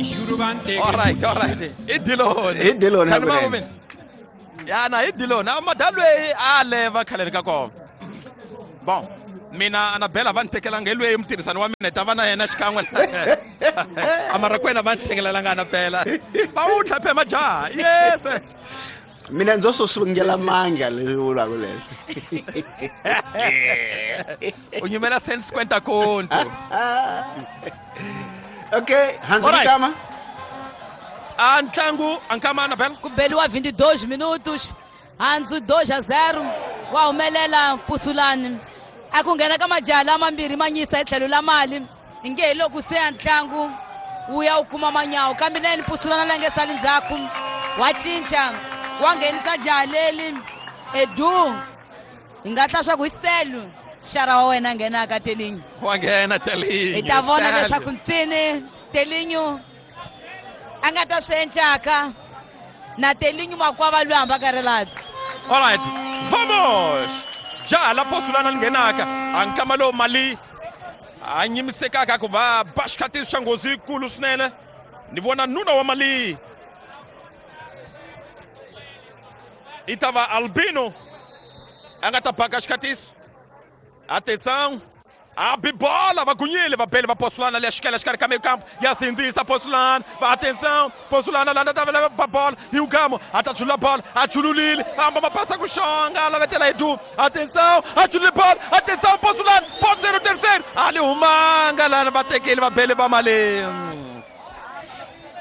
Alright, alright. I Diloni. Hi Diloni Khani hakunene. ma Ya na hi Diloni. A madalwe a leva khale ka kona. Bon, mina Anabella va ni tekelanga hi lweyi mutirhisani wa mina hi ta va na yena xikan'we. Amara kwena va ni tekelelanga Anabella. Va wu tlhaphe majaha. Yes. Yes. Mina ndzo swo sungela manga leswi vulaka leswi. U nyimela 150 conto. Okay, Hansi Alright. Kama. A ntlangu ankama Anabella. Ku beliwa 22 minutos, handzu 2-0 wa humelela Pusulani. A ku nghena ka majaha lamambirhi ma nyisa hi tlhelo la mali inge hi loko se ya ntlangu wu ya wu kuma manyawu, kambe nene Pusulana la nge sali ndzhaku wa cinca wa nghenisa jaha leli Edu. Hi nga hla swa ku hi Stelu xara wa wena nghenaka Telinyo. Wa nghena Telinyo. Hi ta vona Stelu. leswaku ncini Telinyo a nga ta swi encaka na Telinyo makwava loyi hambaka riladzo. Alright, vamos! Jaha la Posulana li nghenaka a nkama lowu mali a nyimisekaka ku va ba xikhatisi xa nghozi yikulu swinene. Ni vona nuna wa mali i ta va Albino a nga ta baka xikhatisi. Atenção! A bibola, va gunyile, va bele, va Posulana leya xikela xikarhi ka meio campo, ya sindzisa Posulana, va atenção, Posulana landa ta va bola, hi Ugamo, a ta chulula bola, a chululile, amba mapasa ku xonga, a lavetela hi du, atenção, a chulule bola, atenção, Posulana, pode ser o terceiro, ali humanga lana, va tekile, va bele, va mali.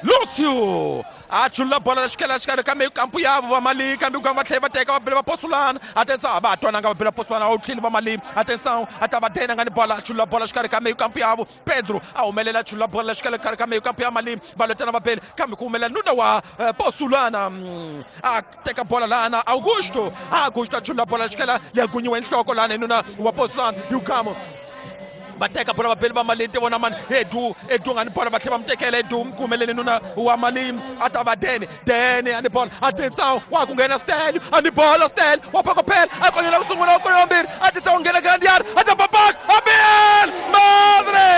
Lúcio a chulula bola la xikela xikarhi ka meio campo yavo va mali, kambe Ugamo va tlhela va teka va bele va Posulana. Atenção, a va ha twananga va bele va Posulana, a wu tlheli va mali. Atenção, a ta va dena nga ni bola, a chulula bola xikarhi ka meio campo yavo. Pedro a humelela, a chulula bola la xikela xikarhi ka meio campo ya mali, va lwetana va bele, kambe ku humelela nuna wa Posulana. A teka bola lana Augusto, Augusto a chulula bola la xikela leyi gunyiwe nhloko lana hi nuna wa Posulana Ugamo. Va teka bola va bele va mali, ti vona mani Edu, Edu nga ni bola, va tlhela va mu tekela Edu, mu kumelele nuna wa mali, a ta va Dene, Dene a ni bola, atenção, wa ku nghena Stelio, a ni bola Stelio, wa phakopela, a konyela ku sungula, wa konyela mbirhi, atenção, nghena grande área, a ta babak, a bel, madre!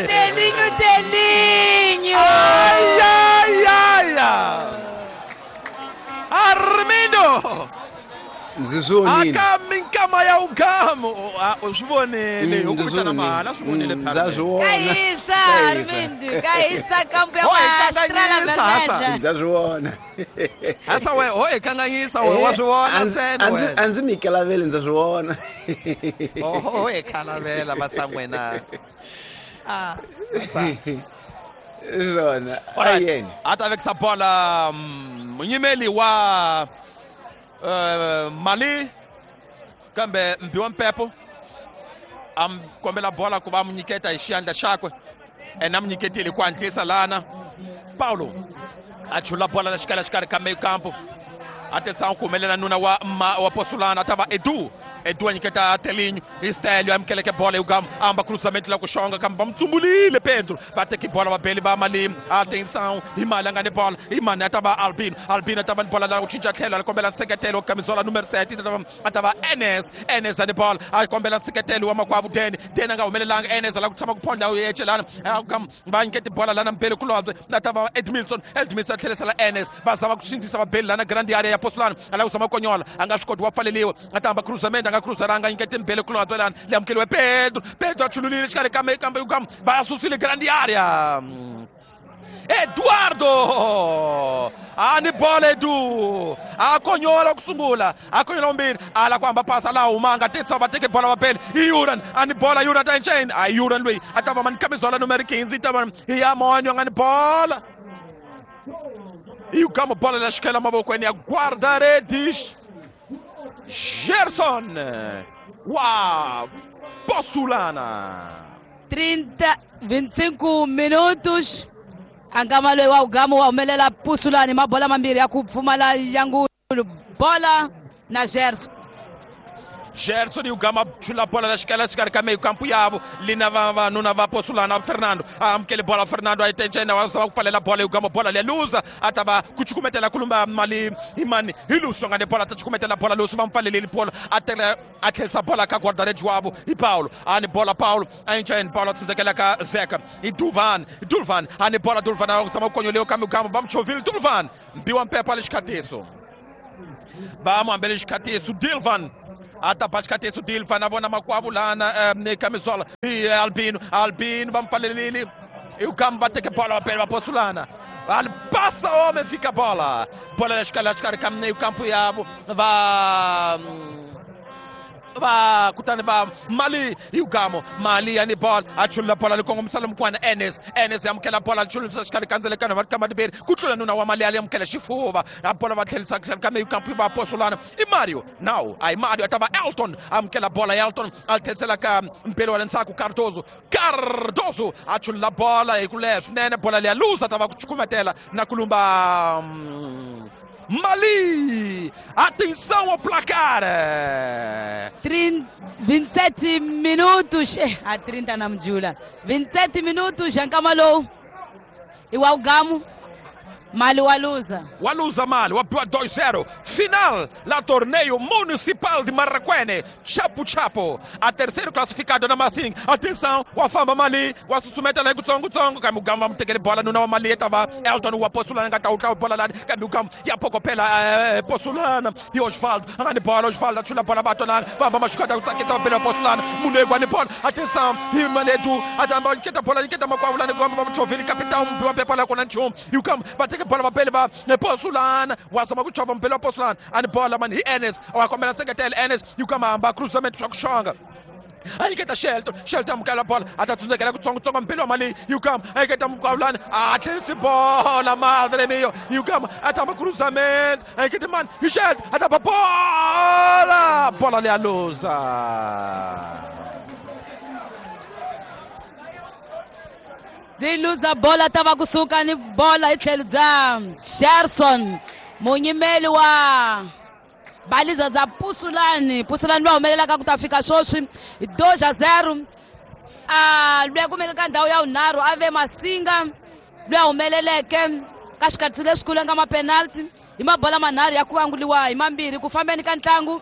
Telinho, Telinho! Ai, ai, ai, ai! Armindo! Ndzi swi vonile. Aka minkama ya Ugamo. Ah, u swi vonile. U ku Ndzi swi vitana vonile. mali, a swi vonile Ndza phela. swi vona. Ka hisa, Ka hisa. Armindo, ka hisa kampo ya Ho, hi Estrela kanganyisa, hasa. Vermelha. Ndza swi vona. Hasa we, ho hi kanganyisa we, wa swi vona ntsena wena. A ndzi mi kalaveli, ndza swi vona. Oho, hi khalavela masangwena. Ah, masa. Swona. Alright. Ayeni. A ta vekisa bola munyimeli wa Mali, kambe Mbiwa Mpepo a mi kombela bola ku va mu nyiketa hi xiyandla xakwe, ene a mu nyiketile ku hatlisa lana. Paulo a chula bola la xikala xikarhi ka meio campo, a tesa ku humelela nuna wa ma, wa Posulana, a ta va Edu, Edu a nyiketa Telinho, hi Stelio amukeleke bola hi Ugamo, a amba cruzamento la ku xonga, kambe va mu tsumbulile Pedro, va teki bola va beli va mali. Atenção, hi mali a nga ni bola, hi mani a ta va Albino, Albino a ta va ni bola la ku cinca tlhelo, a kombela nseketelo kamizola numero 7, a ta va Enes, Enes a ni bola, a kombela nseketelo wa makwavo Dene, Dene a nga humelelanga, Enes a la ku tshama ku phondla ecelana, va nyiketi bola lana mbele kulobye, a ta va Edmilson, Edmilson a tlherisela Enes, va zama ku sindzisa va beli lana grande area ya Posulana, a lava ku zama ku konyola, a nga swi koti, wa pfaleliwa, a ta hamba cruzamento, a nga cruzeranga, a nyiketi mbele kulobye lana, leyi amukeliwe Pedro, Pedro a chululile xikarhi ka kambe va susile grande area. Eduardo a ni bola Edu a konyola ku sungula, a konyola vumbirhi, a la ku hamba pasa laha humanga, tetsa va teke bola va bele i Yuran, a ni bola Yuran ta encheni, a Yuran loyi a ta va mani kamizola numero 15, ta va hi ya monyo nga ni bola i Ugamo, bola la xikela mavokweni ya guarda-redes Gerson wa Posulana. 30, 25 minutos. Ankama loyi wa Ugamo wa humelela Pusulani, mabola mambirhi ya ku pfumala yangulu, bola na Gerson. Gerson Yugama chula bola la xikela xikarhi ka meyo kampu yavo lina vavanuna va Posulana Fernando a amukele bola Fernando a yi tencena wa zama ku pfalela bola Yugama bola leya luza a ta va ku cukumetela kulumba mali imani hi Luso nga ni bola ta cukumetela bola Luso va mu pfaleleli bola a tela a tlherisa bola ka guarda-rede wavo hi Paulo a ni bola Paulo a yi Paulo a tsundzekela ka Zeka hi Duvan Dulvan a ni bola Dulvan a zama ku konyoliwa kambe Yugama va mu chovile Dulvan mbiwa mpepo a le xikhatiso va mu hambele xikhatiso Dilvan a ta ba xikhatiso Dilvan a vona makwavo lana kamisola hi Albino Albino va mu pfalelile Yugama va teke bola va pele va Posulana ali passa homem fica bola bola la xikarhi ka meio campo yavo va va kutani va Mali Yugamo Mali ya ni bola a chulula bola li kongomisa mukwana Enes Enes amukela bola chululisa xikarhi ka ndzelekano va kamba tiberi ku tlula nuna wa Mali ali amukela xifuva a bola va tlherisa xikarhi ka meyo kampu va Posulana i Mario now ai Mario a ta va Elton amukela bola Elton a tlherisela ka mpelo wa le ndzhaku Cardoso Cardoso a chulula bola hi ku leha swinene bola leya luza ta va ku cukumetela na ku lumba Mali! Atenção ao placar! 27 minutos. A 30 na mjula. 27 minutos, Jankamalo. E o Algamo. Mali waluza. Waluza Mali, wapiwa 2-0. Final la torneio municipal de Marraquene. Chapo Chapo. A terceiro classificado na Massing. Atenção, wafamba Mali. Wasusumeta lá kutsongo tsongo. Kamugamba mtekele bola nuna wa Mali tava Elton wa Posulana ngata utla bola la Kamugamba ya poko pela Posulana. E Osvaldo, angani bola Osvaldo achula bola batona. Bamba mashukata kutaketa pela Posulana. Munegwa ni bola. Atenção, Himanedu atamba keta bola keta makwavulana kwamba mchovili capitão mbiwa pepa la kona nchum. Yukam bateke bola bapele ba Posulana wazama kuchova mpele wa Posulana ani bola mani hi Enes wakombela seketele Enes yukamamba cruzamento swa kuxonga ayiketa Shelton Shelton amukela bola atatsundzekela kutsongotsongo mpele wa Mali yukam ayiketa mkwavulana a tlherise bola madre mio yukam atamba cruzamento ayiketa mani hi Shelton atamba bola bola leya luza Ziluza bola tava kusuka ni bola itlhelo bya Sherson munyimeli wa baliza za Pusulani Pusulani va humelelaka ku ta fika sweswi 2-0 a luya kumeka ka ndhawu ya vunharhu a ve Masinga luya humeleleke ka xikhatsi lexikulu nga mapenalty hi mabola manharhu ya ku anguliwa hi mambirhi ku fambeni ka ntlangu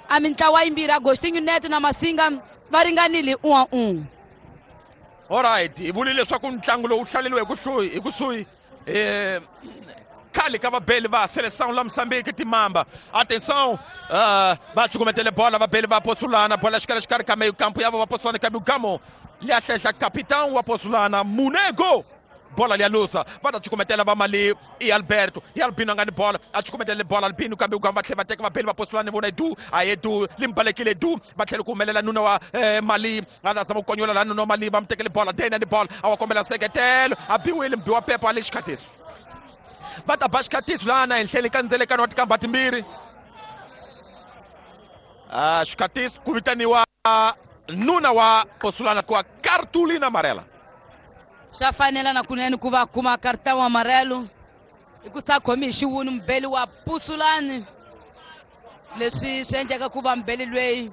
a mintlawa yimbirhi Agostinho Neto na Masinga va ringanile 1-1. Alright, hi vule leswaku ntlangu lowu hlaleriwe hi kusuhi khale ka vabeli va Seleção la Moçambique timamba. Atenção, va cukumetele bola vabeli va Posulana, bola xikarhi xikarhi ka meio campo yavo va Posulana kambe Gamo liya hlehla capitão wa Posulana Munego. Bola liya luza va ta cukumetela va Mali i Alberto i Albino nga ni bola a cukumetele bola Albino kambe Ugamba tlhela va teka vabeli va Posulana vona du a ye du limbalekile du va tlhela ku humelela nuna wa Mali a ta zama ku konyola la nuna wa Mali va mu tekele bola Dena ni bola a wa kombela seketelo a biwile mbiwa pepo a le xikhatiso va ta ba xikhatiso lana henhleni ka ndzelekano wa tikamba timbirhi xikhatiso ku vitaniwa nuna wa Posulana ku wa Cartulina Amarela. Swa fanela na kunene ku va kuma cartão amarelo i ku sa khomi hi xiwunu mubeli wa Pusulani leswi swi endleka ku va mubeli lweyi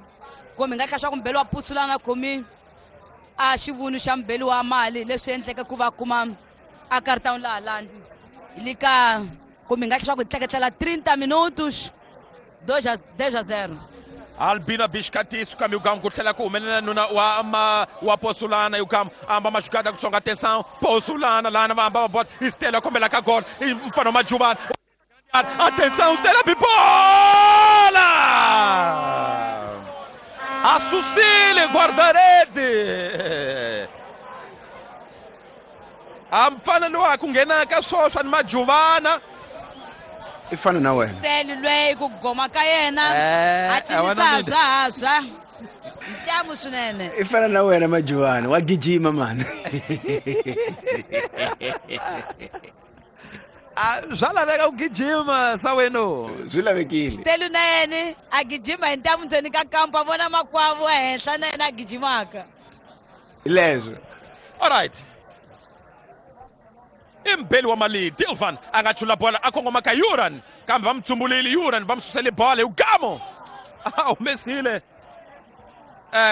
kumbe hi nga tlha swa ku mubeli wa Pusulani a khomi a xivunu xa mubeli wa Mali leswi endleka ku va kuma a cartão laha landzi hi le ka kumbe hi nga tlha swa ku hi tleketlela 30 minutos 2-0. Albino Biscatiso kambe Ugamba ku tlhela ku humelela nuna wa wa Posulana Ugamba amba maxukata kutsonga atenção Posulana lana va hamba va bola Stella kombela ka gol mfana Majubana atenção Stella bibola a Sucile guarda-rede a mfana lowa ku nghena ka swoswa ni Majubana i fana na wena Steli lweyi ku goma ka yena a cinisa haswa ntlangu swinene i fana na wena Majubana wa gijima mani swa laveka ku gijima sa weno swi lavekile Steli na yena a gijima hi ntamu ndzeni ka kampa vona makwavo ehenhla na yena a gijimaka leswo. Alright, imbeli wa Mali Dilvan a nga chula bola a kongoma ka Yuran kambe va mu tsumbulile Yuran va mu susele bola Ugamo a humesile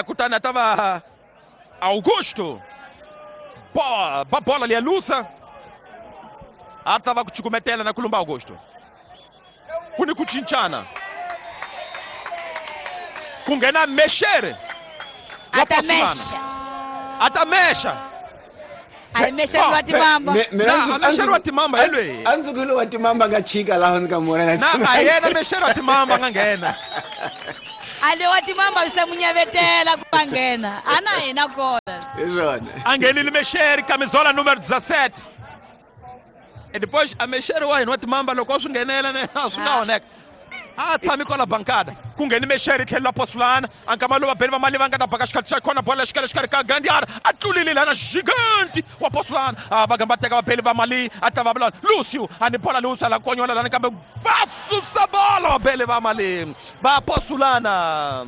Kutani a ta va Augusto ba bola liya lusa a ta va ku cukumetela na ku lumba Augusto. Ku ni ku cincana ku nghena Meshere a ta mexa a ta mexa a hi mexeri wa timamba Na, a mexeri wa timamba hi lweyi. A ndzi ku hi lowa timamba nga chika laha ndzi ka mona na a yena mexeri wa timamba nga nghena a le wa timamba swi se munyavetela ku va nghena a na hina kona hi swona a nghenile mexeri camisola número 17 e depois a mexeri wa hina wa timamba loko swi nghenela ne a swi nga oneka a tshami kwala bankada ku ngheni mexeri tlhelo la posulana a nkama lowu vabeli va mali va nga ta baka xikhathi xa khona bola xikarhi xikarhi ka grandi yard a tlulile lana gigante wa posulana a va gamba teka vabeli va mali a ta va vula Lucio a ni bola Lucio la konyola lana kambe va susa bola vabeli va mali va posulana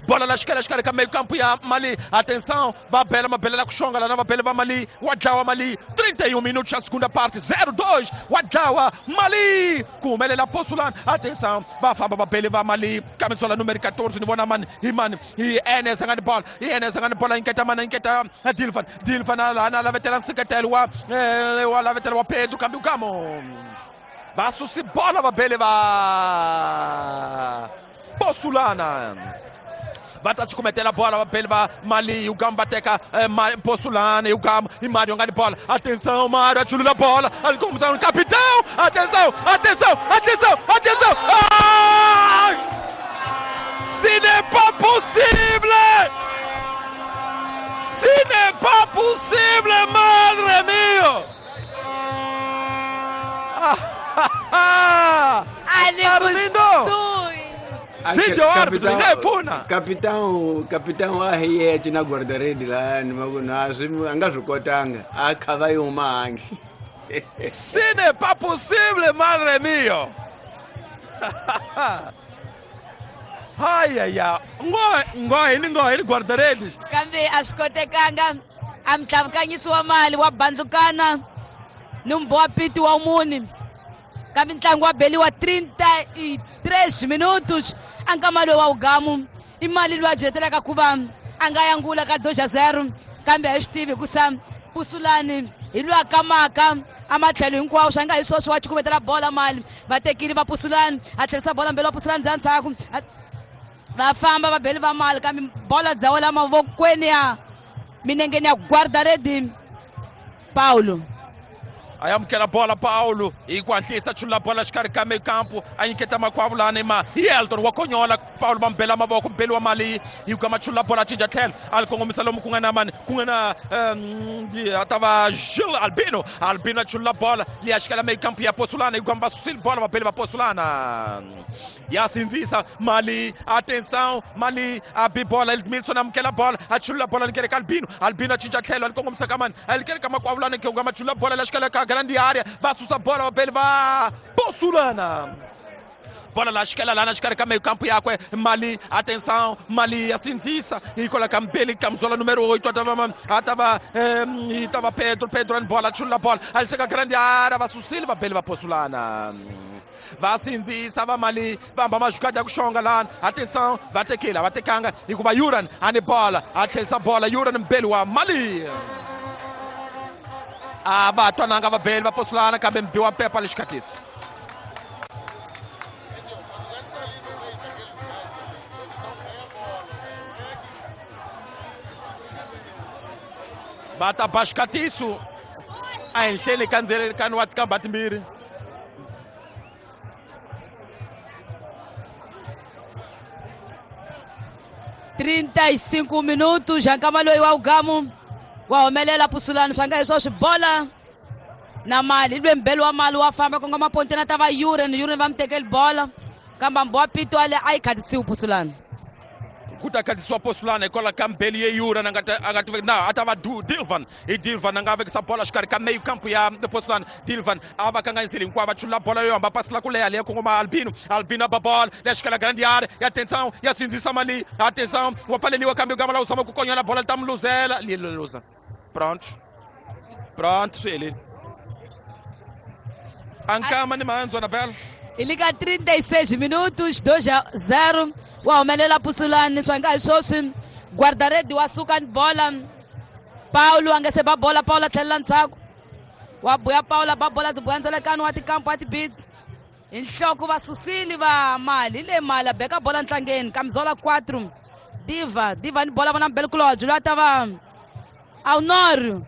bola la xikarhi xikarhi ka mekampu ya mali atenção va bela mabelela ku xonga lana vabele va mali wa dlawa mali 31 minutos xa segunda parte 02 wa dlawa mali ku humelela posulana atenção va famba vabele va mali kamisola numero 14 ni vona mani hi mani hi enes a nga ni bola hi enes a nga ni bola nyiketa mani nyiketa dilvan dilvan lana lavetela nseketelo wa wa lavetela wa Pedro kambe ukamo va susi bola vabele va posulana va ta cukumetela bola vabeli va mali Ugamba va teka posulana Ugamba i Mário nga ni bola atenção Mário a chulula bola ali como tá capitão atenção atenção atenção atenção. Ai! Ce n'est pas possible, ce n'est pas possible, madre mio. A le Arlindo! kusuhi Video árbitro, yi pfuna. Capitão wa hi na guarda-rede lahayani va ku na swi a nga swi kotanga a kha va yi huma handle. Ce n'est pas possible, madre mio. Ai ai ai. Ngo hi ni guarda-redes. Kambe a swi kotekanga a mtlhavukanyisi wa mali wa bandlukana ni mbho wa piti wa muni kambe ntlangu wa beliwa 33 minutos a nkama lowu wa ugamu i mali loyi a byetelaka ku va a nga yangula ka 2-0 kambe a hi swi tivi hikusa Pusulani hi loyi a kamaka a matlhelo hinkwawo swa nga hi swoswo wa cukumetela bola mali va tekile va Pusulani a tlherisa bola mbele wa Pusulani ndzhaku ndzhaku va famba va beli va mali kambe bola dza wela mavokweni ya minengeni ya guarda-rede Paulo. A amukela bola Paulo hi ku hatlisa chulula bola xikarhi ka mekampu a nyiketa makwavo lani ma hi Elton wa konyola Paulo va mbela mavoko mbeli wa mali hi ku machulula bola cinca tlhelo a li kongomisa lomu ku nga na mani ku nga na a ta va Gilles Albino Albino a chulula bola liya xikela mekampu ya Posulana hi ku va susile bola vabeli va Posulana ya sindzisa mali atenção mali a bi bola Edmilson amukela bola a chulula bola likele ka Albino Albino a cinca tlhelo a li kongomisa ka mani a likele ka makwavo lani ku nga machulula bola la xikela ka grande área va susa bola vabeli va Posulana bola la xikela lana xikarhi ka meio campo yakwe mali atenção mali ya sindzisa hi kwala ka mbeli camisola número 8 a ta va yi ta va Pedro Pedro ni bola chulula bola a li seka grande área va susile vabeli va Posulana va sindzisa va mali va hamba mazhukadi ya ku xonga lana atenção va tekile a va tekanga hikuva Yuran a ni bola a tlherisa bola Yuran mbeli wa mali a va twananga vabeli va Posulana kambe mbi wa mpepa lexikhatisi. Va ta ba xikatiso a henhleni ka ndzelekano wa tikamba timbirhi. 35 minutos já nkama loyi wa ugamu wa humelela Pusulani swa nga hi swoswi bola na mali lwe mbeli wa mali wa famba kongoma ponteni ta va Yuren Yuren va mu tekeli bola kambe mbo wa pito ale a yi khatisiwi Pusulani ku ta khatisiwa Posulana hikwalaho ka mbeli ye Yuren a nga na a ta va Dilvan hi Dilvan a nga vekisa bola xikarhi ka meio campo ya Posulana Dilvan a va kanganyisile hinkwavo va chulula bola yo hamba pasi la ku leha leya kongoma Albino Albino a ba bola leya xikela grande área ya atenção ya sindzisa mali atenção wa pfaleliwa kambe gama la u tshama ku konyola bola li ta mu luzela li luza pronto pronto swi helile a nkama ni mahandzo na bela E liga 36 minutos, 2-0. Wa humelela Pusulani swa nga hi swoswi guardaredi wa suka ni bola. Paulo a nga se ba bola, Paulo a tlhelela ndzhaku. Wa buya Paulo ba bola byi buya ndzelekano wa tikampo wa tibits. Hi nhloko va susile va mali hi le mali a beka bola ntlangeni Kamizola 4 Diva Diva ni bola vona mbelkulobye loyi a ta va Aunor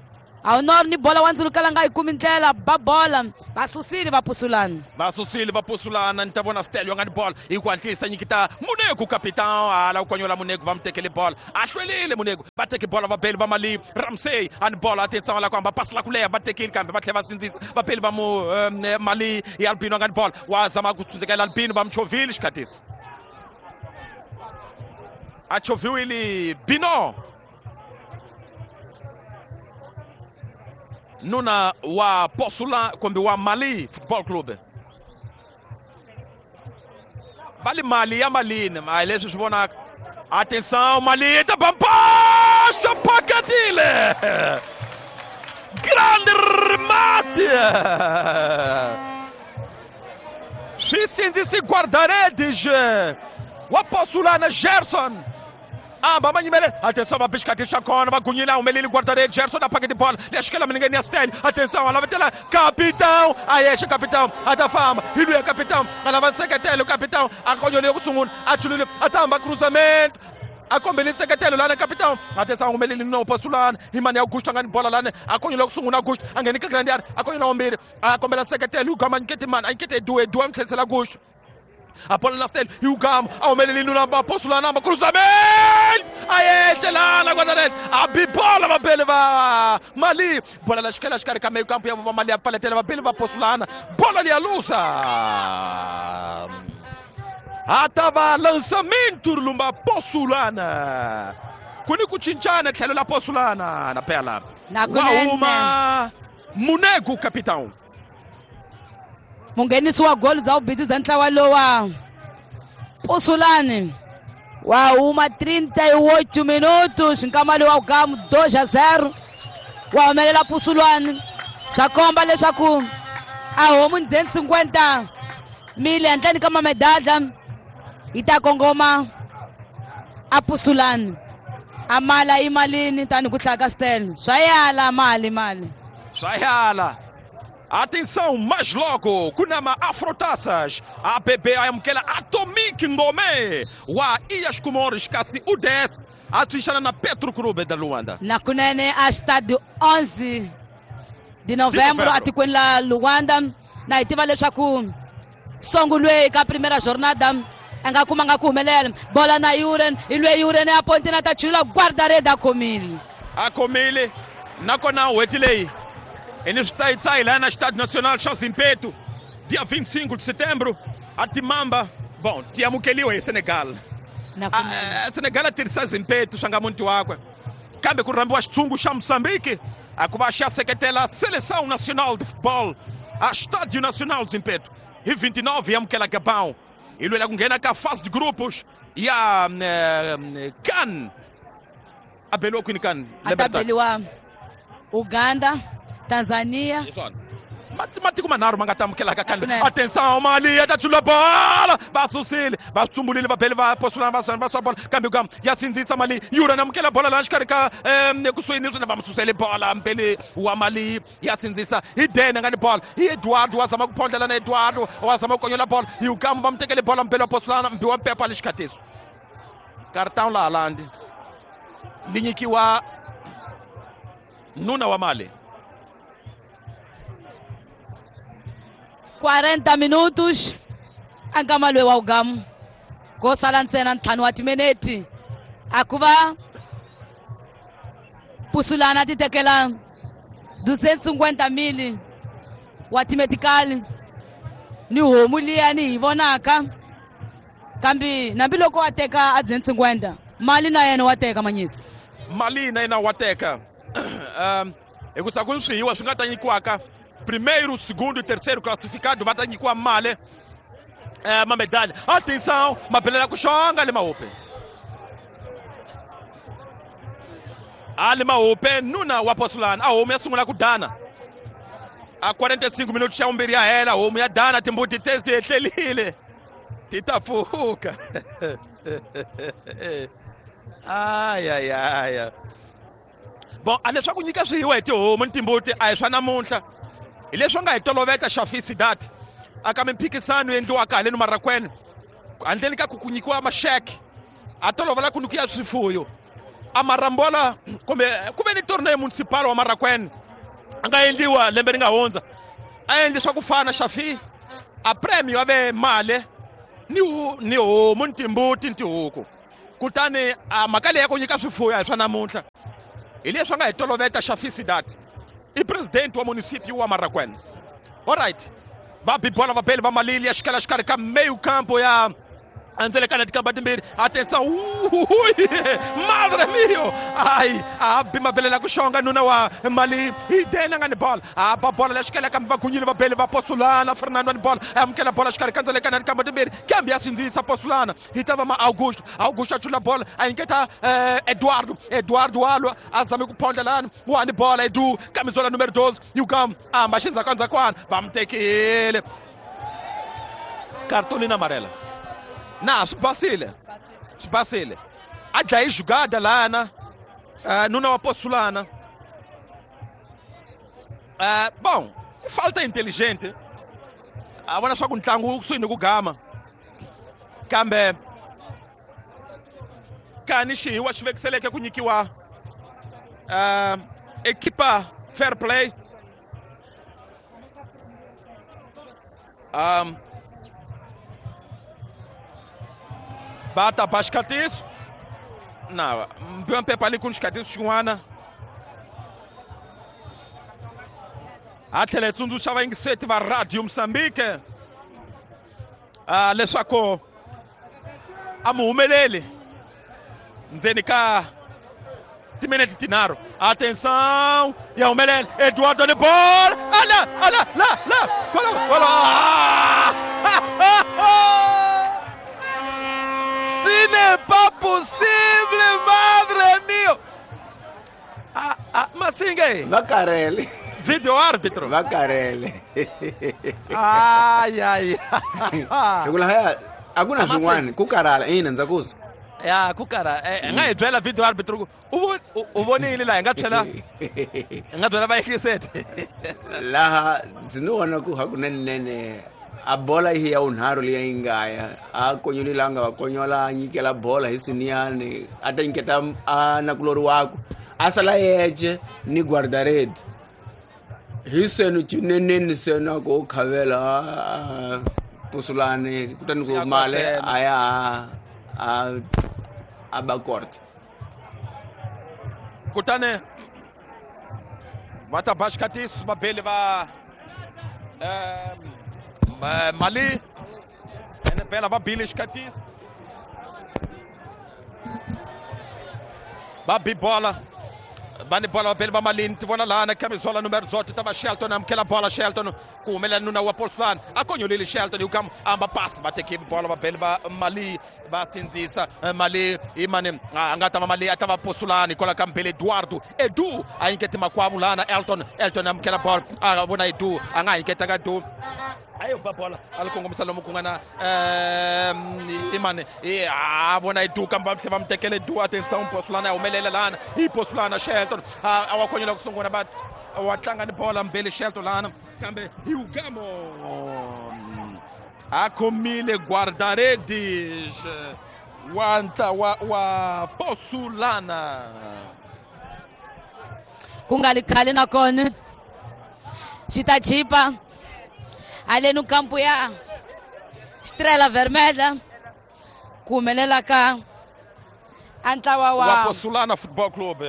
Aunor ni bola wa ndzulukela nga yi kumi ndlela ba bola va susile va pusulana va susile va pusulana ni ta vona Stelio nga ni bola hi ku hatlisa nyikita Munegu capitão ala ku konyola Munegu va mu tekele bola a hlwelile Munegu va teke bola va beli va mali Ramsey a ni bola a tisa la ku hamba pasi la ku leha va tekile kambe va tlhela va sindzisa va beli va mu mali ya Albino nga ni bola wa zama ku tsundzukela Albino va mu chovhile xikhatiso a chovhiwile Bino nuna wa Posula kumbe wa Mali Football Club va li mali ya malini a hi leswi swi vonaka. Atenção, Mali ta bampaxa pakatile grande remate swi sindzisi guarda-redes wa Posulana Gerson amba manyimele. Atenção, va bixikati xa kona va gunyile a humeleli guarda-redes Gerson a paketi bola leya xikela milengeni ya Stel. Atenção, a lavetela capitão a yexe capitão a ta famba hi luya capitão a lava nseketelo capitão a konyole ku sungula a chulile a ta hamba cruzamento a kombeli nseketelo lana capitão. Atenção, humeleli no Posulana hi mani ya Augusto a nga ni bola lana a konyole ku sungula Augusto a ngheni ka grande area a konyola wambirhi a kombela nseketelo hi gama nyikete mani a nyikete Edu Edu a n'wi tlherisela Augusto a bola na Stel hi ugama a humeleli nuna va Posulana ma cruzamento a yecelana guarda-redes a bi bola vabeli va Mali bola la xikela xikarhi ka meyo kampo ya va Mali ya paletela vabeli va Posulana bola liya lusa a ta va lançamento lumba Posulana ku ni ku cincana tlhelo la Posulana na pela wa huma Munegu capitão munghenisi wa goli bya vubindzu bya ntlawa lowa Pusulani wa huma 38 minutos nkama lowu wa gamu 2-0 wa humelela Pusulani swa komba leswaku a homu ndzeni 50 mili handleni ka mamedadla yi ta kongoma a Pusulani a mala i malini tani ku hlaya ka Stel swa yala mali mali swa yala. Atenção, mais logo, Kunama Afrotaças, ABB amukela Atomic Ngome wa Ilhas Comores kasi UDS a tshwixana na Petro Clube da Luanda. Na kunene a Estádio 11 de Novembro atikweni la Luanda na hi tiva leswaku sungulwe ka primeira jornada a nga kumanga ku humelela bola na Yuren hi lwe Yuren a pontina ta chula guarda-redes a khomile a khomile nakona n'hweti leyi e ni switsayitsayi laha na Estádio Nacional xa Zimpeto dia 25 de setembro a timamba bon ti amukeliwa hi Senegal. Senegal a tirhisa Zimpeto swa nga muti wakwe kambe ku rhambiwa xitshungu xa Moçambique a ku va xa seketela Seleção Nacional de Futebol a Estádio Nacional de Zimpeto hi 29 yi amukela Gabão hi lwela ku nghena ka fase de grupos ya CAN a beliwa kwini CAN a ta beliwa Uganda Tanzania matiko manharhu ma nga ta amukelaka kambe. Atenção, Mali ya ta chula bola va susile va tsumbulile va beli va Posulana va va swa bola kambe kam ya sindzisa Mali Yura na amukela bola laha xikarhi ka ekusuhi ni swona va mu susele bola mbeli wa Mali ya sindzisa hi Dene nga ni bola hi Eduardo wa zama ku phondlela na Eduardo wa zama ku konyola bola hi ukamu va mu tekele bola mbeli wa Posulana mbi wa Pepa le xikhatiso cartão la Haaland li nyikiwa nuna wa Mali. 40 minutos ankama loyi wa ugamu ko sala ntsena ntlhanu wa timinete a ku va Pusulana ti tekela 250 mili wa timetikali ni homu liya ni hi vonaka kambe nambiloko wa teka a 250 mali na yena wa teka manyisi mali na yena wa teka hi ku ku ni swihiwa swi nga ta nyikiwaka primeiro, segundo e terceiro classificado va ta nyikiwa mali mamedalha. Atenção, mabelela ku xonga le mahupe a le mahupe nuna wa Posulana a homu ya sungula ku dana a 45 minutos xa vumbirhi ya hela homu ya dana timbuti te ti etlelile ti ta pfuka. Ayayaya, bon, a leswaku nyika swihiwa hi tihomu ni timbuti a hi swa namuntlha, hi leswi nga hi toloveta xafisi dat aka mimphikisano endliwaka haleni Marakwene, handleni ka ku nyikiwa maxeke a tolovela ku nyikiwa swifuyo. A marambola kumbe ku ve ni tournée municipal wa Marakwene a nga endliwa lembe ri nga hundza, a endli swa ku fana xafi, a premio a ve mali ni homu ni timbuti ni tihuku. Kutani a mhaka leyi ya ku nyika swifuyo a hi swa namuntlha, hi leswi nga hi toloveta xafisi dat i president wa municipio wa Marakwene. Alright, va bi bola vabeli va Malili ya xikala xikarhi ka meio campo ya andzelekana tikamba timbirhi. Atenção, madre mio, ai a bi mabelela ku xonga nuna wa Mali hi dena nga ni bola, a ba bola la xikela kambe vagunyile vabeli va Posulana. Fernando ni bola, amukela bola xikarhi ka ndzelekana tikamba timbirhi, kambe ya sindzisa Posulana hi ta va ma Augusto. Augusto a chula bola a nyiketa Eduardo. Eduardo walwa a zame ku phondla lani wa ni bola Edu camisola numero 12 yukam amba xindzhakandzhakwana va mu tekile cartolina amarela. Na swi basile, swi basile, a dlaye jugada lana nuna wa Posulana. Bom, falta inteligente, a vona swa ku ntlangu wu kusuhi ni ku gama, kambe kani xihiwa xi vekiseleke ku nyikiwa equipa fair play. Va ta ba xikatiso na mpepa ali ku ni xikatiso xin'wana, a tlhela hi tsundzuxa vayingiseti va Radio Mozambique leswaku a mu humeleli ndzeni ka timinete tinharhu. Atenção, ya humelela Eduardo ni bola, ala ala la la gola gola. Ce n'est pas possible, madre mio. Masinge va karele video árbitro va karele. Ay ay. Hi ku lahaya a ku na swin'wana ku karhala ina ndza ku ya ku karhala, nga hi byela video árbitro ku u vonile laha hi nga tlhela hi nga byela vayingiseti. Laha ndzi ni vona ku hakunenene a bola hi ya vunharhu leyi yi nga ya a konyolile, a nga va konyola, a nyikela bola hi siniyani, a ta nyiketa a nakulori wakwe, a sala yece ni guarda-rede hi senu cineneni senu a ku u khavela a Pusulani, kutani ku Ya mali kwasena. A ya a ba korte. Kutani va ta ba xikatiso vabeli va Mali ene bela va bile xikatiso, va bi bola, va ni bola vabeli va Malini. Ti vona lana camisola numero 18 ta va Shelton, amukela bola Shelton, ku humelela nuna wa Portland, a konyolile Shelton yukam amba pass, va teke bola vabeli va Mali, va sindzisa Mali imani a nga ta va Mali, a ta va Posulani kwala ka mbele Eduardo. Edu a nyiketi makwavo lana Elton. Elton amukela bola, a vona Edu, a nga nyiketanga Edu, ayo ba bola a li kongomisa lomu ku nga na imani a vona Edu, kambe va tlhela va mu tekela Edu. Atenção, Posulana ya humelela lana i Posulana. Shelton a wa konyola ku sungula, va wa tlanga ni bola mbele Shelton lana, kambe Hugamo a khomile guarda-redes wa ntlawa wa Posulana. Ku nga li khale nakona xi ta chipa haleni kampu ya Estrela Vermelha ku humelela ka a ntlawa wa wa Posulana Football Club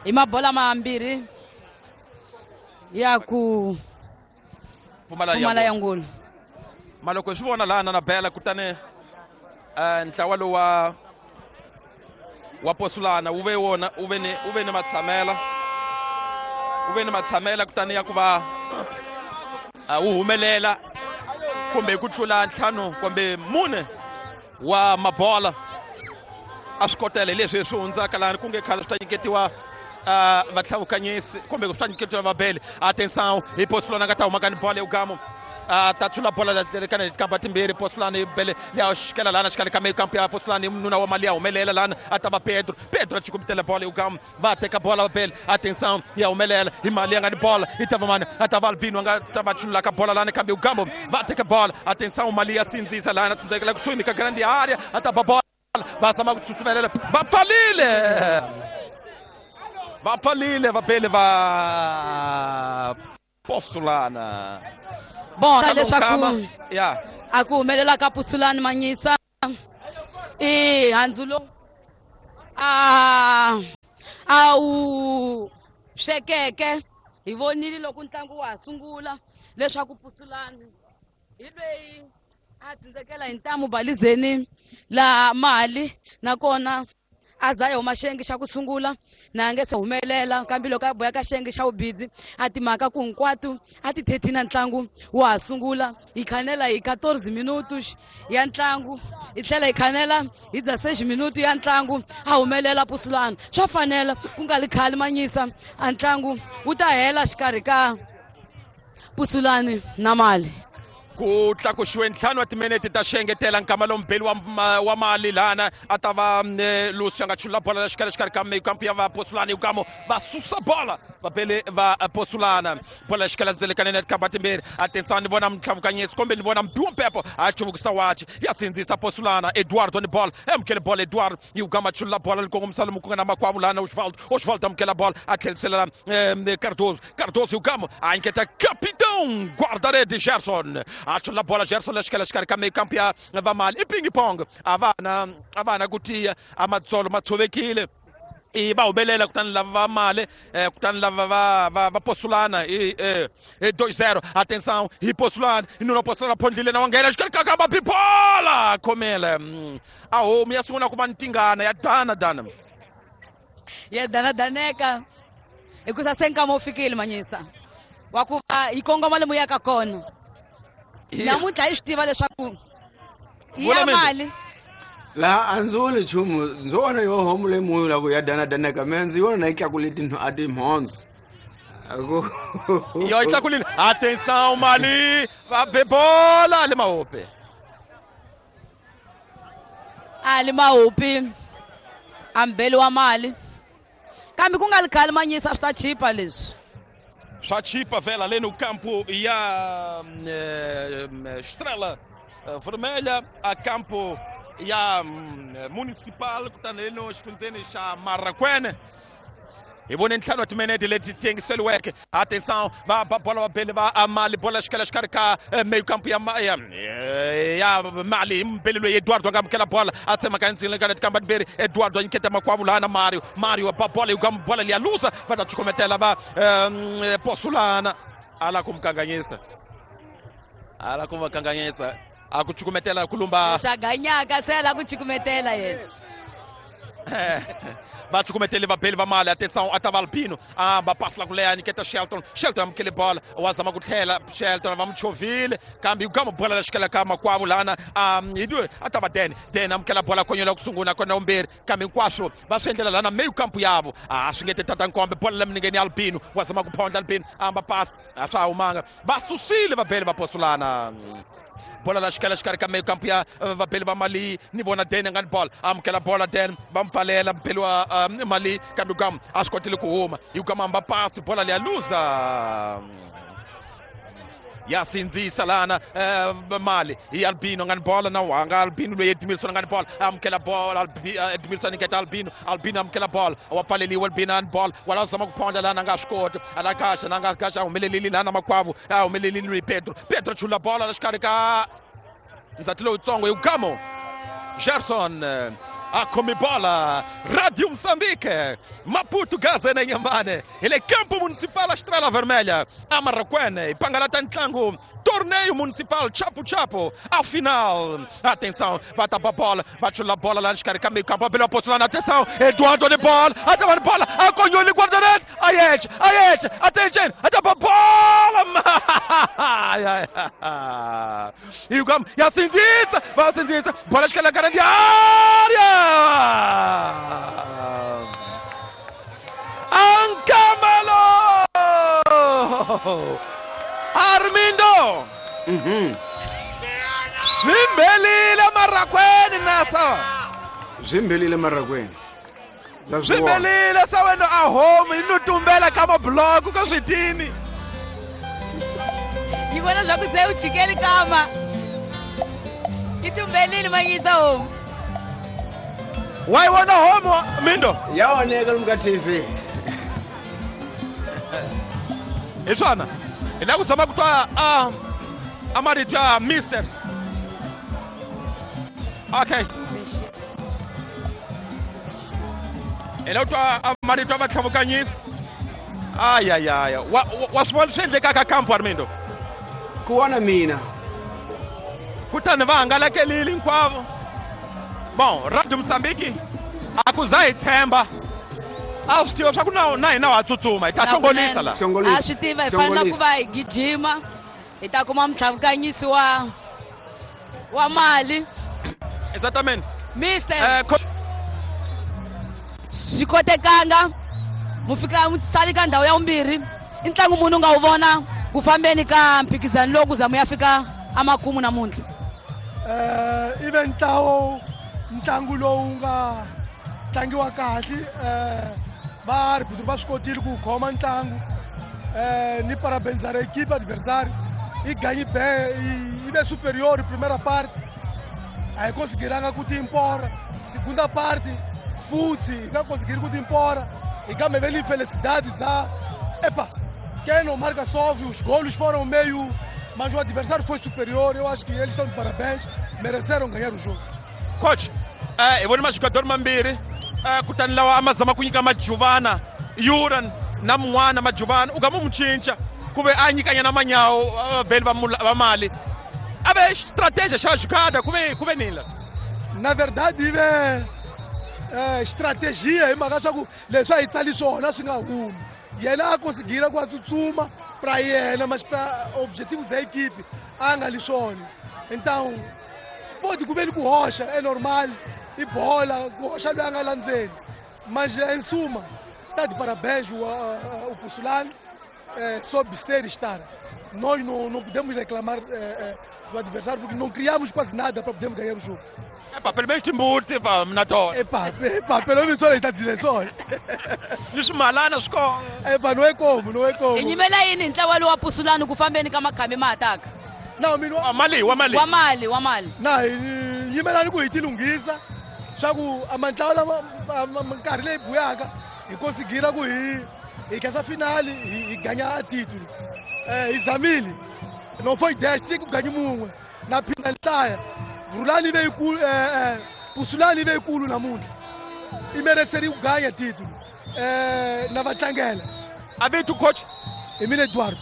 hi mabola mambirhi ya ku pfumala pfumala ya ngulu. Maloko hi swi vona lana na bela, kutani ntlawa lowu wa Posulana wu ve wona wu ve ni matshamela, wu ve ni matshamela, kutani ya ku va wu humelela kumbe ku tlula ntlhanu kumbe mune wa mabola a swi kotela. Hi leswi swi hundzaka lani ku nge khale swi ta nyiketiwa vatlhavukanyisi kumbe swi ta nyiketiwa vabeli. Atenção, hi Posulana nga ta humaka ni bola eugamo. A ta chula bola la kana kamba timbirhi Posulani bele ya xikela lana xikarhi ka meyo kampu ya Posulani nuna wa mali ya humelela lana a ta va Pedro Pedro a chukumitela bola Ugam va teka bola bele atenção ya humelela hi mali ya nga ni bola i ta va mani a ta va Albino a nga ta va chulula ka bola lana kambe Ugam va teka bola atenção mali ya sindzisa lana tsundzekela kusuhi ka grande área a ta va bola va zama ku tsutsumelela va pfalile va pfalile va bele va Posulana. Bon, leswaku a ku humelela ka Posulani Manyisa i handzulo a wu swekeke hi vonile loko ntlangu wa ha sungula leswaku Posulani hi lweyi a tsindzekela hi ntamu balizeni laha mali nakona a za huma xengi xa ku sungula na nge se humelela kambe loko a boya ka xengi xa vubidzi a timhaka ku hinkwato a ti 13 na ntlangu wa ha sungula hi khanela hi 14 minutos ya ntlangu hi tlhela hi khanela hi 16 minuto ya ntlangu a humelela Posulani swa fanela ku nga li khali Manyisa a ntlangu wu ta hela xikarhi ka Posulani na mali. Ku tlakuxiwe ntlhanu wa timinete ta xengetela nkama lombeli wa mali lana a ta va Lucio a nga chulula bola la xikarhi xikarhi ka meyo kampu ya va Posulani Ugamo va susa bola va bele va Posulana bola xikarhi zelekanene kamba timbirhi atenção ni vona mtlhavukanyisi kumbe ni vona mbiwa mpepo a chuvukisa wachi ya sindzisa Posulana Eduardo ni bola amukele bola Eduardo Ugamo chulula bola likongomisa lomu ku nga na makwavo lana Osvaldo Osvaldo amukela bola a tlherisela Cardoso Cardoso Ugamo a nyiketa capitão guarda-rede Gerson a bola Gerson la xikarhi ka meyo kampu ya va mali i ping pong a va na ku tiya a matsolo ma tshovekile i va humelela kutani lava va mali kutani lava va Posulana i 2-0 atenção hi Posulana hi nuna Posulana phondlile na wa nghena xikarhi ka kamba bibola khomele a homu ya sungula ku va ntingana ya dana dana ya dana daneka hikusa se nkama wu fikile Manyisa wa ku va hi kongoma lomu yaka kona namuntlha hi swi tiva leswaku ya mali laha a ndzi voni nchumu ndzo vona yo homu leyi munhu la ku ya danadaneka mina ndzi vona na yi tlakule a timhondzo yo yi tlakulile atenção mali va be bola le mahope a le mahopi a mbeli wa mali kambe ku nga li khali Manyisa swi ta chipa leswi swa chipa vela ali no campo ya Estrela Vermelha a campo ya Municipal kutani le no xifundzeni xa Marracuene hi vone ntlhanu wa timinete leti tengiseliweke atenção va ba bola va bele va mali bola xikela xikarhi ka meyo kampu ya mali hi mbeli loyi Eduardo a nga amukela bola a tsemaka ndzini ka tikamba timbirhi Eduardo a nyiketa makwavo lana Mario Mario ba bola yi bola liya luza va ta chukumetela va Posulana ala ku mukanganyisa ala ku va kanganyisa a ku chukumetela ku lumba xaganyaka se ala ku chukumetela yena va chukumetele vabeli va mali atenção a ta va Albino a va pasi la ku leha nyiketa Shelton Shelton amukele bola wa zama ku tlhela Shelton va mu chovhile kambe Ugamo bola la xikela ka makwavo lana a ta va Den Den amukela bola konyola ku sungula kona vumbirhi kambe hinkwaswo va swi endlela lana meyo kampu yavo a swi nge te tata nkombe bola la minengeni ya Albino wa zama ku phondla Albino amba pasi a swa ha humanga va susile vabeli va Posulana bola la xikela xikarhi ka meyo kampu ya vabeli va mali ni vona Den nga ni bola amukela bola Den va mpfalela mbeli wa mali kambe Ugamo a swi kotile ku huma hi Ugamo amba pasi bola liya luza ya sindzisa lana mali hi Albino nga ni bola na wanga Albino loyi Edmilson nga ni bola amukela bola Edmilson nyiketa Albino Albino amukela bola wa pfaleliwa Albino ani bola wala zama ku phondla lana nga swi koti ala kaxa na nga kaxa humelelile lana makwavo a humelelile loyi Pedro Pedro chula bola la xikarhi ka ndzati lowutsongo hi Ugamo Gerson a khomi bola Radio Moçambique Maputo Gaza na Inhambane ele campo municipal Estrela Vermelha a Marracuene e pangalata ntlangu torneio municipal Chapo Chapo ao final atenção vai tapar a bola vai chula bola lá xikarhi ka meio campo abeleu Posulana atenção Eduardo de bola a de bola a conhole guarda-redes Ayete Ayete atenção a bola e o Gamo e a Sindita vai a Sindita bola esquerda grande área Ancamalo Armindo Swi mbelile marakweni nasa. Swi mbelile marakweni. Swi mbelile sa wena a home yi no tumbela ka mabuloko ka switini. Yi vona swa ku se u chikeli kama. Yi tumbelile manyisa home. Wa yi vona home Mindo? Ya oneka lomu ka TV. Hi swona. Hi lava ku zama ku twa a marito ya Mister. Okay. Hi lava ku twa a marito ya vatlhavukanyisi. Ayayaya. Wa swi vona swi endlekaka kampo Armindo? Ku vona mina. Kutani va hangalakelile hinkwavo. Bon, Radio Mozambique a ku za hi tshemba. A swi tiva swa ku na hina wa tsutsuma hi ta hlongolisa la. A swi tiva hi fanele ku va hi gijima hi ta kuma mutlhavukanyisi wa mali. Exatamente. Mister. Swi kotekanga mu fika mu sali ka ndhawu ya vumbirhi. I ntlangu munhu u nga wu vona ku fambeni ka mphikizano lowu ku za mu ya fika emakumu namuntlha. I ve ntlawo ntlangu lowu nga tlangiwa kahle va arbitro va swi kotile ku khoma ntlangu ni parabenizar equipe adversário i ganhe bem i ve superior primeira parte a hi conseguiranga ku timpora segunda parte futhi hi nga conseguir ku timpora hi kambe ve ni infelicidade dza epa quem não marca sofre, os golos foram meio, mas o adversário foi superior. Eu acho que eles estão de parabéns, mereceram ganhar o jogo. Coach, hi vona majogador mambirhi kutani lawa a ma zama ku nyika Majuvana Yuran na mun'wana Majuvana u nga mu cinca ku ve a nyikanyana manyawo vheli va mali a ve strategia xa jugada ku ve nini la? Na verdade i ve strategia hi mhaka swa ku leswi a hi tsali swona swi nga humi. Yena a conseguira ku a tsutsuma pra yena, mas pra objetivos da equipe a nga li swona. Então pode ku veni ku hoxa é normal, i bola ku hoxa loyi a nga landzeni, mas em suma está de parabéns o Pussulani, soube ser estar. Nós não podemos reclamar do adversário porque não criamos quase nada para podermos ganhar o jogo. Epa, pelo menos timbuti pa mna tona. Epa, pelo menos só está dizendo só. Ni swimalana swi kona. Epa, não é como, não é como. Hi nyimela yini hi ntlawa lowu wa Pussulani ku fambeni ka makhambi ma ataka? Na mina wa mali, wa mali. Wa mali, wa mali. Na yimelani ku hi tilunghisa swa ku a mantlawa lama minkarhi leyi buyaka hi conseguira ku hi khensa finali hi ganya a titulo. Hi zamile. Não foi 10, tinha que ganhar mun'we. Na phinda nhlaya. Rulani veio Pussulani veio kulu namuntlha. I mereceria ku ganya titulo. Na va tlangela. Abitu coach Emile Eduardo.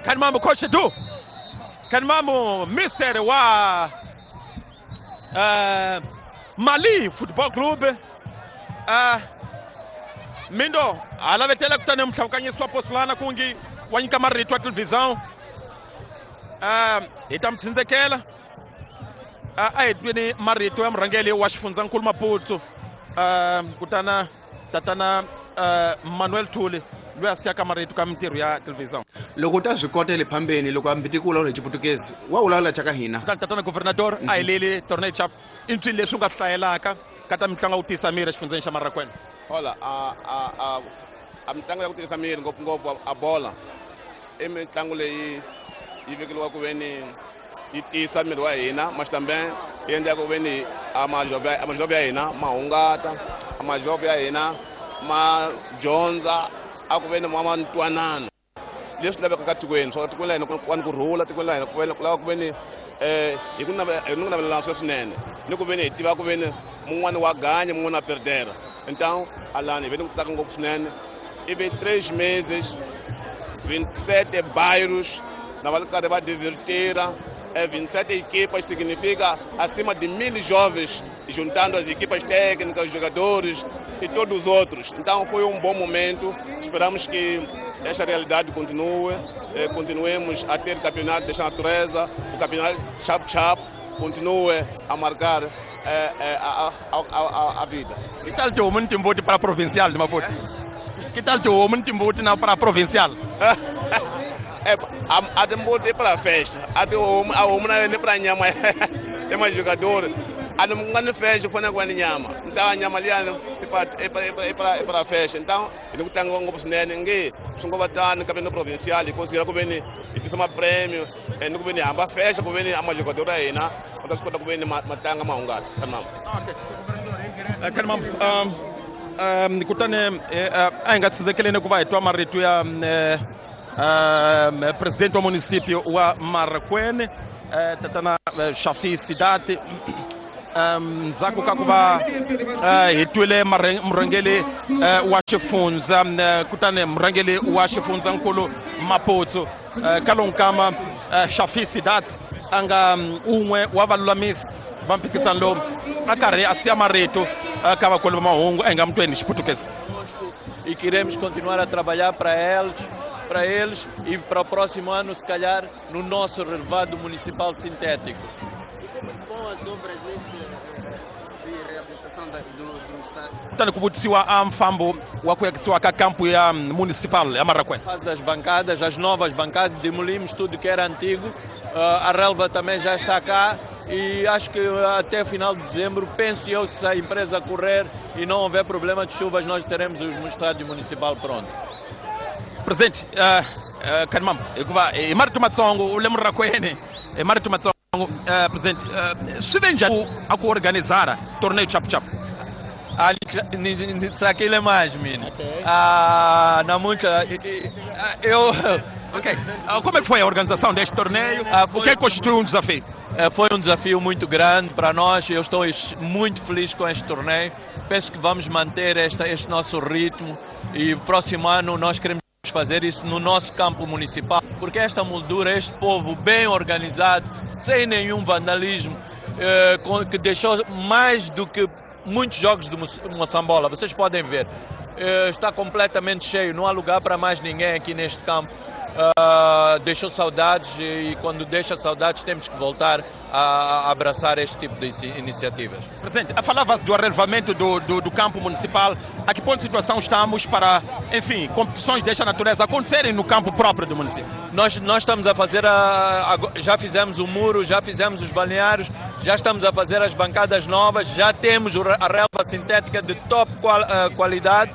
Kan mambo coach Edu. Kan mambo Mister wa Mali Football Club. Mindo alavetela kutani mhlawukanyisi wa Pussulani kungi wa nyika marito ya televisão. Hi ta mi tsindzekela. A hi tweni marito ya murhangeri wa xifundzankulu Maputo kutana tatana Manuel Thuli loyi a siyaka marito ka mintirho ya televisão. Loko u ta swi kota le phambeni loko ambiti ku vulavula hi Xiputukezi wa vulavula xa ka hina. Kutani tatana governador a hi leli torneo chap i ncini leswi u nga swi hlayelaka ka ta mitlangu ya ku tiyisa miri exifundzeni xa Marakwena? Hola, a mitlangu ya ku tiyisa miri ngopfungopfu a bola i mitlangu leyi yi vekeliwa ku veni yi tiyisa miri wa hina, mas também yi endla ku veni a majove ya hina ma hungata, a majove ya hina ma dyondza a ku veni ma ntwanano leswi lavekaka tikweni. Swa tikweni la hina ku va ni ku rhula, tikweni la hina ku lava ku veni hi ku navelelana swinene ni ku veni hi tiva ku veni mun'wani wa ganya mun'wani wa perdera. Então alani hi ve ni ku tsaka ngopfu swinene. I ve 3 meses 27 bairros na va karhi va divertira. 27 equipas significa acima de 1.000 jovens, juntando as equipas técnicas, os jogadores e todos os outros. Então foi um bom momento. Esperamos que esta realidade continue, continuemos a ter campeonato desta natureza, o campeonato chap-chap continue a marcar a vida. Que tal teu homem timbuti para a provincial de Maputo? Que tal teu homem timbuti para a provincial? A timbuti para festa, a tihomu a homu na yona para nyama ya majogador. A ni nga ni festa ku fanele ku va ni nyama. Nta nyama liyani i para festa. Então hi ni ku tlangiwa ngopfu swinene nge swi ngo va tani kambe ni provincial hi considera ku ve ni hi tisa mapremio ni ku ve ni hamba festa ku ve ni a majogador ya hina va ta swi kota ku ve ni ma tlanga ma hungata. Kanimam, kutani a hi nga tsindzekeleni ku va hi twa marito ya presidente wa município wa Marracuene, tatana Shafi Sidati. Ndzhaku ka ku va hi twile murhangeri wa xifundza, kutani murhangeri wa xifundzankulu Maputsu, ka lowu nkama Shafi Sidat a nga un'we wa valulamisi va mphikizano lowu a karhi a siya marito ka vakulu va mahungu. A hi nga mutweni xiputukezi. E queremos continuar a trabalhar para eles e para o próximo ano, se calhar, no nosso relevado municipal sintético. E como vão as obras neste de reabilitação do estádio? Kutani ku vutisiwa a mfambo wa ku yakisiwa ka kampo ya municipal ya Marracuene. Das bancadas, as novas bancadas, demolimos tudo que era antigo, a relva também já está cá e acho que até final de dezembro, penso eu, se a empresa correr e não houver problema de chuvas, nós teremos o estádio municipal pronto. Presidente, Kanimam, hikuva hi marito matsongo u le Murakwene, hi marito matsongo, presidente, swi ve njhani a ku organizara torneio chapu chapu? Ah, ni tsakile mais mina. Ah, namuntlha eu Ok. Como é que foi a organização deste torneio? O que é que constituiu um desafio? Foi um desafio muito grande para nós. Eu estou muito feliz com este torneio. Penso que vamos manter este nosso ritmo e o próximo ano nós queremos fazer isso no nosso campo municipal, porque esta moldura, este povo bem organizado, sem nenhum vandalismo, que deixou mais do que muitos jogos do Moçambola, vocês podem ver, está completamente cheio, não há lugar para mais ninguém aqui neste campo. Deixou saudades e quando deixa saudades temos que voltar a abraçar este tipo de iniciativas. Presidente, falava-se do arrelevamento do campo municipal. A que ponto de situação estamos para, enfim, competições desta natureza acontecerem no campo próprio do município? Nós estamos a fazer, já fizemos o muro, já fizemos os balneários, já estamos a fazer as bancadas novas, já temos a relva sintética de top qualidade.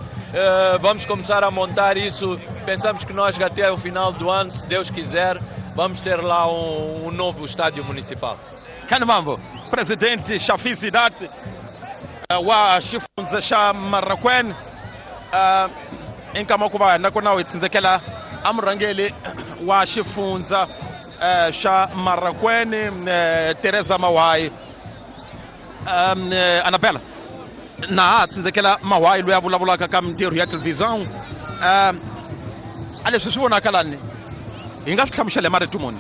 Vamos começar a montar isso. Pensamos que nós até o final do ano, se Deus quiser, vamos ter lá um novo estádio municipal. Kanimambo, presidente Shafi Sidat wa xifundza xa Marracuene, i nkama ku va nakona hi tsindzekela a murhangeri wa xifundza xa Marracuene, Teresa Mawai. Anabela na ha tsindzekela Mawai loyi a vulavulaka ka mintirho ya televisão. A leswi swi vonaka lani hi nga swi hlamusela hi marito muni?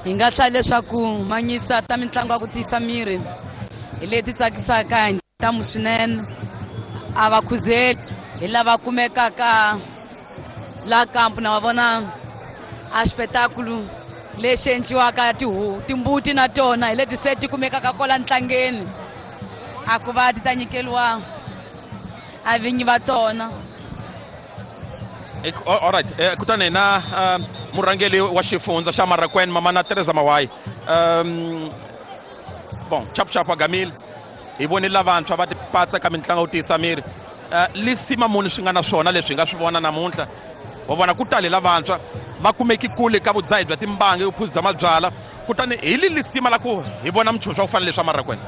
Hi nga hlaya leswaku manyisa ta mitlangu ya ku tiyisa miri hi leti tsakisaka hi ntamu swinene, a va khuzeli hi lava kumekaka la kampu na va vona a xipetakulu lexi endliwaka timbuti na tona hi leti se ti kumekaka kwala ntlangeni a ku va ti ta nyikeliwa a vinyi va tona. Alright, kutani na murhangeri wa xifundza xa Marracuene, mamana Teresa Mawai. Bon, chapu chapu agamile hi vonile lavantshwa va tipatsa ka mitlangu yo tiyisa miri. Lisima muni swi nga na swona leswi hi nga swi vona namuntlha? Wa vona ku tale lavantshwa va kumeki kule ka vudzahi bya timbangi, vuphuzi bya mabyala, kutani hi li lisima la ku hi vona minchumu swa ku fana leswa Marracuene?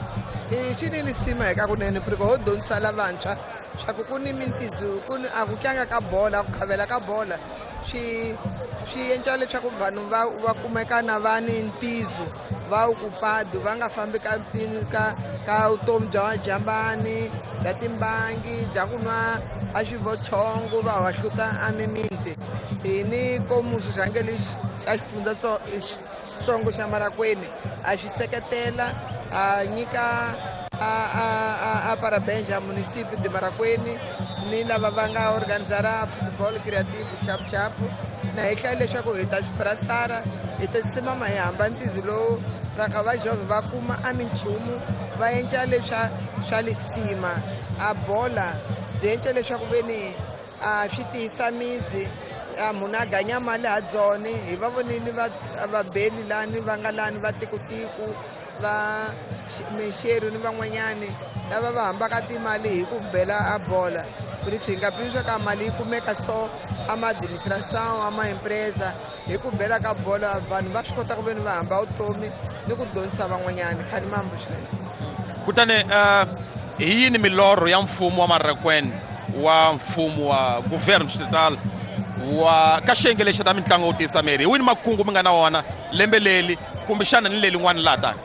I swi ni lisima hi ka kunene ku ho dyondzisa lavantshwa swa ku ku ni mintizu ku ni a ku tlanga ka bola, ku khavela ka bola swi endla leswaku vanhu va kumeka na va ni ntizu va ocupado, va nga fambi ka vutomi bya majambani, bya timbangi, bya ku nwa a xivotshongo va hahluta a mimiti. Hi ni komu xirhangeri xa xifundza xitsongo xa Marracuene a xi seketela a nyika a parabéns a município de Marracuene ni lava va nga organizara football creative chapu chapu na hi hlaya leswaku hi ta swi brasara hi ta simama hi hamba ntizu lowu raka va jovhe va kuma a minchumu va endla leswa swa lisima a bola byi endla leswaku veni a swi tiyisa mizi. A munhu a ganya mali ha dzone hi va vonile va vabeli lani va nga lani va tikutiku va mixeri ni van'wanyani lava va hambaka timali hi ku bela a bola. Por isso hi nga pimisa ka mali yi kumeka so a ma administration a ma empresa hi ku bela ka bola vanhu va swi kota ku veni va hamba vutomi ni ku dyondzisa van'wanyani khani mambo swinene. Kutani hi yini milorho ya mfumo wa Marraquene wa mfumo wa governo estatal wa ka xiyenge lexi ta mitlangu yo tiyisa miri hi wini makungu mi nga na wona lembe leli kumbexana ni lelin'wana laha taka?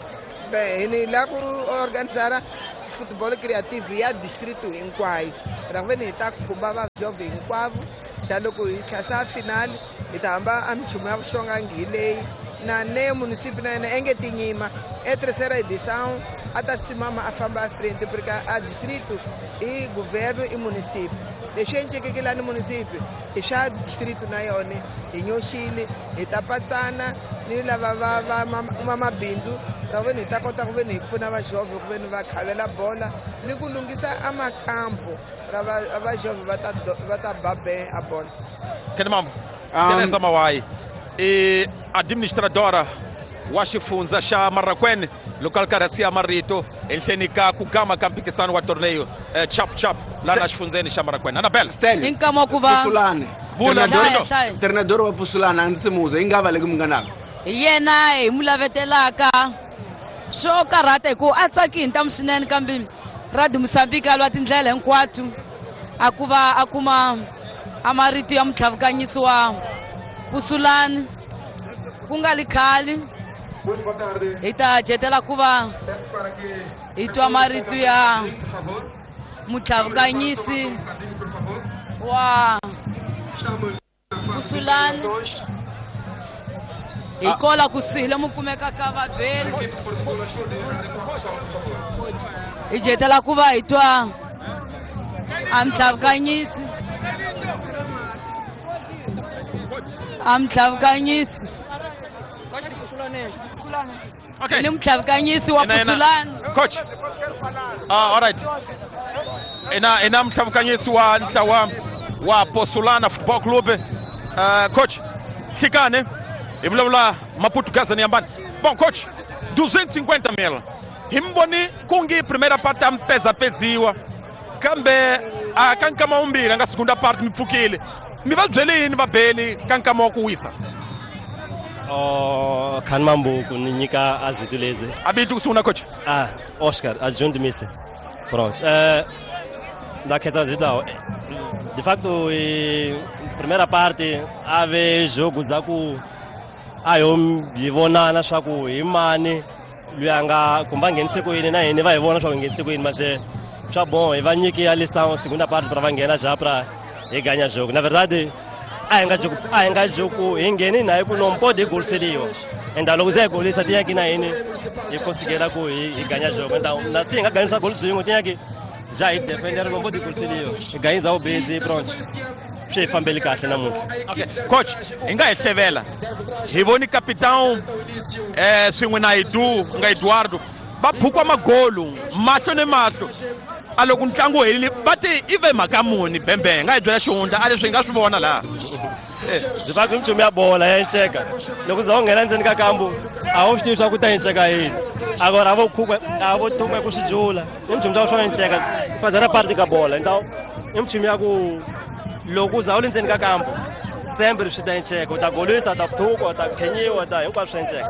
Bem, hi la ku organizar futebol creative ya distrito hinkwayo ra ku veni hi ta khumba vajovhe hinkwavo xa loko hi tlhasa final hi ta hamba a minchumu ya vuxongangi hi leyi na ne munisipi na yena enge tinyima e terceira edição a ta simama a famba a frente porque a distrito i governo i munisipi leswi encekeke lani munisipi i swa distrito na yona hi nyoxile hi ta patsana ni lava va va va mabindzu ra ku veni hi ta kota ku veni hi pfuna vajovhe ku veni va khavela bola ni ku lunghisa a makampo ra vajovhe va ta ba be a bola. Kene mambo Teresa Mawai i administradora wa xifundza xa Marraquene loko a ri karhi a siya marito ehenhleni ka ku gama ka mphikisano wa torneio chap chap laha na xifundzeni xa Marraquene. Annabel Stanley Hi nkama wa ku va Pusulane Vula, Hlaya, Treinador wa Pusulane a ndzi simuza yi nga va leki munganaka hi yena hi mu lavetelaka swo karhata hi ku a tsaki hi ntamu swinene kambe Radio Mozambique a lwa tindlela hinkwato a ku va a kuma a marito ya mutlhavukanyisi wa Pusulani ku nga li khale hi ta jetela ku va hi twa marito ya mutlhavukanyisi wa Pusulani hi kola kusuhi lomu kumekaka vabeli hi jetela ku va hi twa a mutlhavukanyisi a mutlhavukanyisi Okay. ni mutlhavukanyisi wa Ina, ina. Pusulani. Coach. All right. Ina mutlhavukanyisi wa ntlawa wa Posulana Football Club. Coach, hlikane hi vulavula Maputukazani yambani. Bom, coach, 250 mil. Hi mi voni ku ngi primera parte a mi pezapeziwa kambe a ka nkama wumbirhi a nga segunda parte mi pfukile. Mi va byele yini vabeli ka nkama wa ku wisa? Oh, khani mambuku ni nyika azito lezi. A vito ku sungula coach. Ah, Oscar, adjunto mister. Pronto. Da khetsa azito lawa. De facto, primeira parte ave jogo za ku a yo hi vonana swa ku hi mani loyi a nga kumbe a nghenise ku yini na hini va hi vona swa ku hi nghenise ku yini mase swa bon hi va nyiki ya lição segunda parte pra va nghena já pra hi ganya jogo. Na verdade a hi nga joku a hi nga joku hi ngheni na hi ku no pode hi goliseliwa enda loko se hi golisa tinyaki na hini hi consigela ku hi ganya jogo. Então na se hi nga ganyisa goli byin'we tinyaki já hi defender no pode goliseliwa hi ganyisa ubezi pronto swi hi fambeli kahle namuntlha. Okay. Coach, hi nga hi hlevela hi voni capitão swin'we na Edu nga Eduardo va phukwa magolu mahlo ni mahlo a loko ntlangu wu herile va ti i ve mhaka muni bembe hi nga hi byela xihundla a leswi hi nga swi vona laha. De facto minchumu ya bola ya enceka loko za u nghena ndzeni ka kambu a wu swi tivi swa ku ta enceka yini agora a vo khukwa a vo thukwa ku swi jula i minchumu swa swa enceka fazana parte ka bola. Então i minchumu ya ku loko u za u le ndzeni ka kambu sempre swi ta enceka u ta golisa u ta thukwa u ta khenyiwa u ta hinkwaswo swa enceka.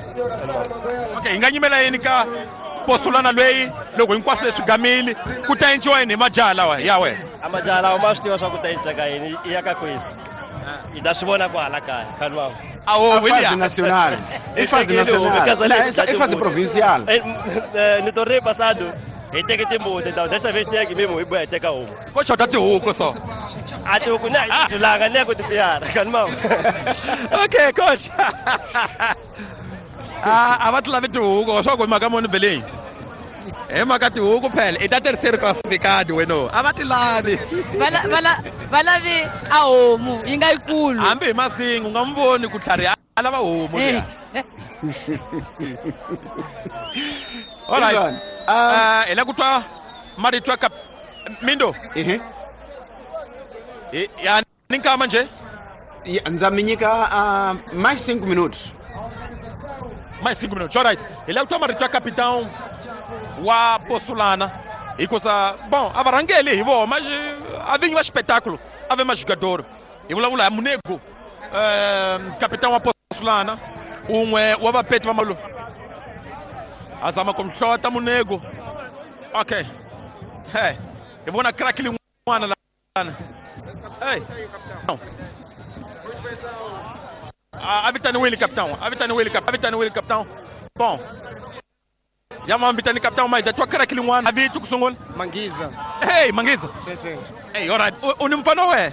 Okay, hi nga nyimela yini ka Posulana lweyi loko hinkwaswo leswi gamile ku ta enciwa yini hi majaha lawa ya wena? A majaha lawa ma swi tiva swa ku ta enceka yini i ya ka kwesi hi ta swi vona kwahala kaya khani wam. Awo, A fase William. nacional i fase nacional Na, i fase provincial. No torneio passado hi teke timbuti então desta vez tinha que mesmo hi boya hi teka homu. Ko xota tihuku so. A tihuku na hi tilanga ni ya ku tipiyara khani mam. Okay, coach. A va ti lavi tihuku swa ku hi mhaka muni beleni hi mhaka tihuku phela i ta terceiro classificado weno a va ti lavi. Va lavi a homu yi nga yikulu hambi hi masingu u nga n'wi voni ku tlhariha a lava homu liya. All right. Ivan, Hi la ku twa marito ya Mindo. Ehe. Ya ni nkama njhe? Ndza mi nyika mais 5 minutos. Mais 5 minutos, alright. Hi lava ku twa marito ya capitão wa Posulana, hikusa bon, a va rhangeli hi voho, mas a vinyi va xipetakulo a ve majugador. Hi vulavula hi Munego, capitão wa Posulana, un'we wa vapeti va malu. A zama ku hlota Munego. Okay, hey, hi vona crack lin'wana lana. Hey, a vitaniwile capitão, a vitaniwile, a vitaniwile capitão. Bom, ya ma vitani capitão, mas twa crack lin'wana. A vito ku sungula? Mangiza. Hey, Mangiza. Sim, sim. Hey, alright. U ni mfana we?